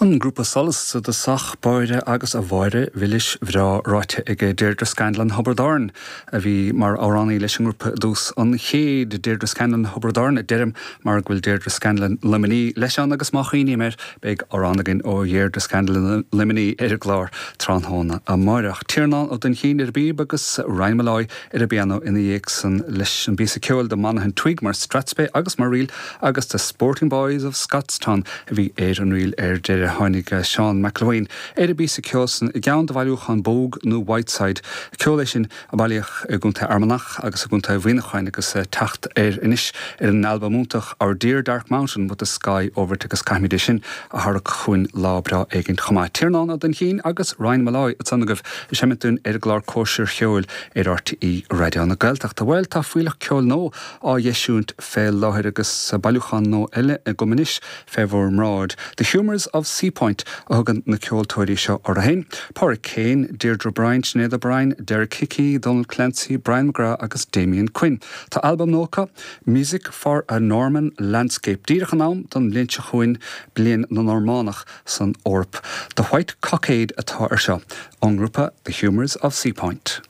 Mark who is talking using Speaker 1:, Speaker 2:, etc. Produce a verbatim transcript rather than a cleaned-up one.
Speaker 1: An grúpa Solas i dtosach báire agus a Mháire mhilis bhreá ráite ag Deirdre Scanlon Thiobraid Árann a bhí mar amhránaí leis an ngrúpa i dtús an chéid Deirdre Scanlon Thiobraid Árann a deirim mar go bhfuil Deirdre Scanlon Luimnigh leis an agus má chuimhním air beidh amhrán againn ó Dheirdre Scanlon Luimnigh ar an gclár tráthnóna amárach. Tiarnán Ó Duinchín ar an bpíb agus Ryan Molloy ar an bpianó ina dhiaidh san leis an bpíosa ceoil The Monaghan Twig mar strathspey agus mar ríl agus The Sporting Boys of Scotstown a bhí ar an ríl ar deireadh tháinig Seán McElwain ar an bpíosa ceoil san i gceann de bhailiúchán Bogue nó Whiteside. Ceol é sin a bailíodh i gContae Fhear Manach agus i gContae Mhuineacháin agus teacht air anois ar an albam iontach Our Dear Dark Mountain with the Sky Over It agus caithfimid é sin a tharrac chugainn lá breá éigin chomh maith. Tiarnán Ó Duinchín agus Ryan Molloy ansan agaibh ag seimint dúinn ar an gclár Cóisir Cheoil ar RTÉ Raidió na Gaeltachta. Bhuel tá fuílleach ceoil nua á eisiúint fé láthair agus bailiúchán nua eile agam anois fé bhur mbráid. The Humours of Seapoint a thugann na ceoltóirí seo orthu féin. Pádraig Kane, Deirdre O'Brien, Sinéad O'Brien, Derek Hickey, Donald Clancy, Brian McGrath agus Damien Quinn. Tá albam nua acu Music for a Norman Landscape díreach in am don bhliain seo chugainn bliain na Normánach san Eoraip. The White Cockade atá ar seo ón ngrúpa The Humours of Seapoint.